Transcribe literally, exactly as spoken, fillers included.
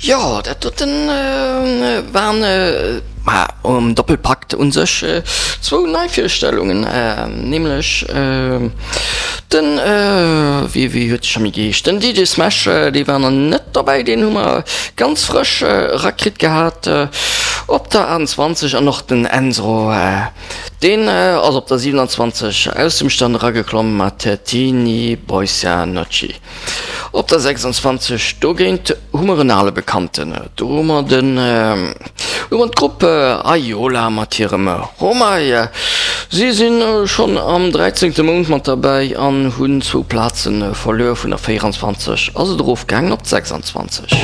Jo, dat doten waren, ma um Doppelpakt un sech zwou Neivirstellungen, nämlech den, wéi wéi huet de scho méi geheescht, den D J Smash, dee war nach net dobäi, deen hu mer ganz frësch erakritt gehat op der achtundzwanzeg an och den Enzro, deen ass op der siewenundzwanzeg aus dem Stand erageklomm mat Tini Boycia Noci. Op der sechsundzwanzeg dogéint hu mer en ale Bekannten, do hu mer den, hu mer d'Grupp Aiola mat hirem Homai. Si si schonn am dräizéngte Mount mat derbäi an hunn zwou Plaze verluer, vun der véieranzwanzeg ass et erofgaangen op d'sechsanzwanzeg.